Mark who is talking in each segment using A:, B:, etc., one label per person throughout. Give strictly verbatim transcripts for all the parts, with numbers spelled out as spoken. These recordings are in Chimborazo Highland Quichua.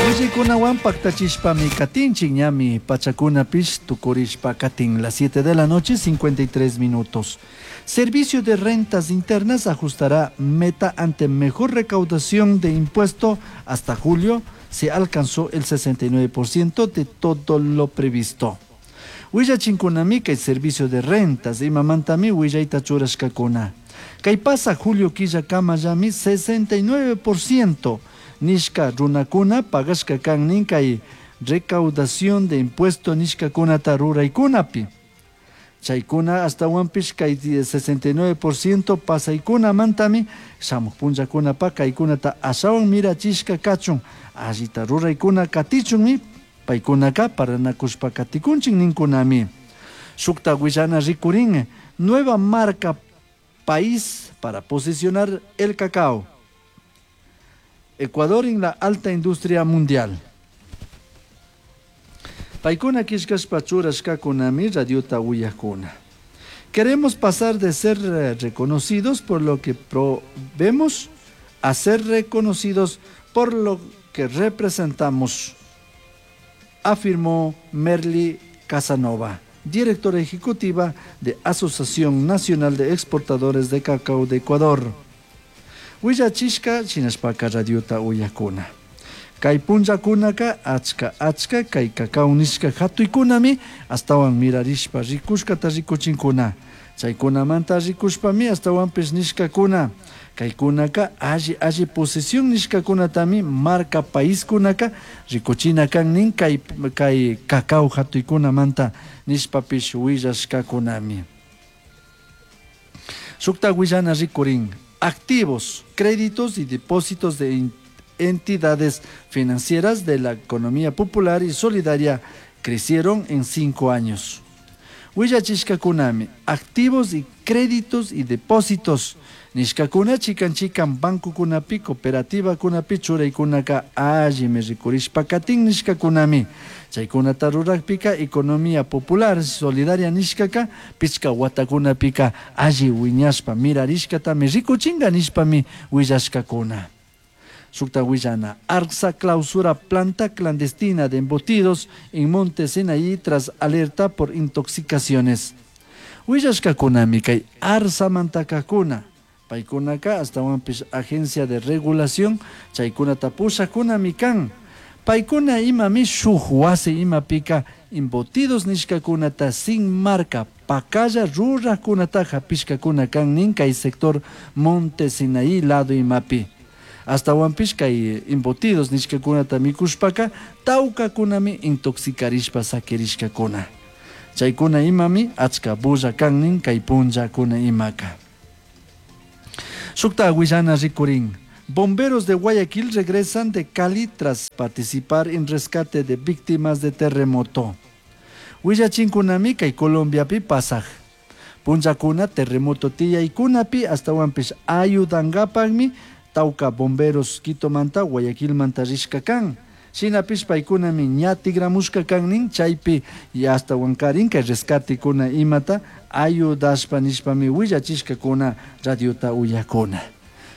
A: Willaykunawan paktachishpami katinchik ñami pachakunapish tukurishpa katin las siete de la noche cincuenta y tres minutos. Servicio de Rentas Internas ajustará meta ante mejor recaudación de impuesto. Hasta julio se alcanzó el sesenta y nueve por ciento de todo lo previsto. Willachinkunami kay Servicio de Rentas imamantami willayta churashkakuna. Kay pasa julio killakamallami sesenta y nueve por ciento nishka runakuna pagashka kan nin kay recaudación de impuesto nishkakunata ruraykunapi. Chaykuna ashtawanpish kay sesenta y nueve por ciento pasaykunamantami shamuj punllakunapa kaykunata ashawan mirachishka kachun allita ruraykuna katichunmi paykunaka paranakushpa katikunchik ninkunami. Shukta willana rikurin, nueva marca país para posicionar el cacao. Ecuador en la alta industria mundial. Paykuna killkashpa churashkakunami radiota uyakuna. Queremos pasar de ser eh, reconocidos por lo que probemos a ser reconocidos por lo que representamos, afirmó Merly Casanova, directora ejecutiva de Asociación Nacional de Exportadores de Cacao de Ecuador. Willachishka shinashpaka radiota uyakuna. Kay punllakunaka achka achka kay cacao nishka hatuykunami astawan mirarishpa rikushkata rikuchinkuna. Chaykunamanta rikushpami ashtawanpish nishkakuna. Kaykunaka alli alli posición nishkakunatami marca paiskunaka rikuchina kan nin kay, kay cacao hatuykunamanta nishpapish willashkakunami. Shukta willana rikurin, activos, créditos y depósitos de entidades financieras de la economía popular y solidaria crecieron en cinco años. Willachishkakunami, activos y créditos y depósitos nishkakuna chikan chikan bancokunapi, cooperativakunapi churaykunaka allimi rikurishpa katin nishkakunami. Chaykunata rurakpika economía popular solidaria nishkaka pichka watakunapika alli wiñashpa mirarishkatami rikuchinga nishpami willashkakuna. Shukta willana, ARSA clausura planta clandestina de embutidos en Monte Sinaí tras alerta por intoxicaciones. Willashkakunami kay ARSAmantakakuna. Paykunaka ashtawanpish agencia de regulación chaykunata pushakunami kan. Paykuna imami shuk wasi imapika embutidos nishkakunata sin marca pakalla rurakunata hapishkakuna kan nin kay sector Monte Sinaí lado imapi. Ashtawanpish kay embutidos nishkakunata mikushpaka tawkakunami intoxicarishpa sakirishkakuna. Chaykuna imami achka bulla kan nin kay punllakuna imaka. Shukta willana rikurin. Bomberos de Guayaquil regresan de Cali tras participar en rescate de víctimas de terremoto. Willachinkunami kay Colombiapi pasaj punllakuna terremoto tiyaykunapi ashtawanpish ayudankapakmi tawka bomberos Quitomanta Guayaquilmanta rishka kan. Shinapish paykunami ña tigramushka kan nin chaypi y ashtawankarin kay rescatekuna imata ayudashpa nishpami willachishkakuna radiota uyakuna.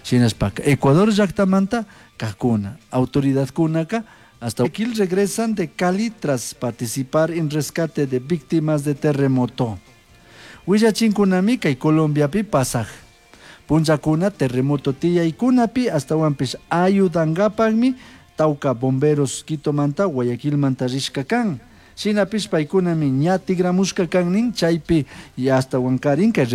A: Shinashpaka Ecuador llaktamanta kakuna autoridadkunaka hasta Guayaquil regresan de Cali tras participar en rescate de víctimas de terremoto. Willachinkunami kay Colombiapi pasaj punllakuna terremoto tiyaykunapi ashtawanpish ayudankapakmi tawka bomberos Quitomanta Guayaquilmanta rishka kan. Shinapish paykunami ña tigramushka kan nin chaypi y ashtawankarin kay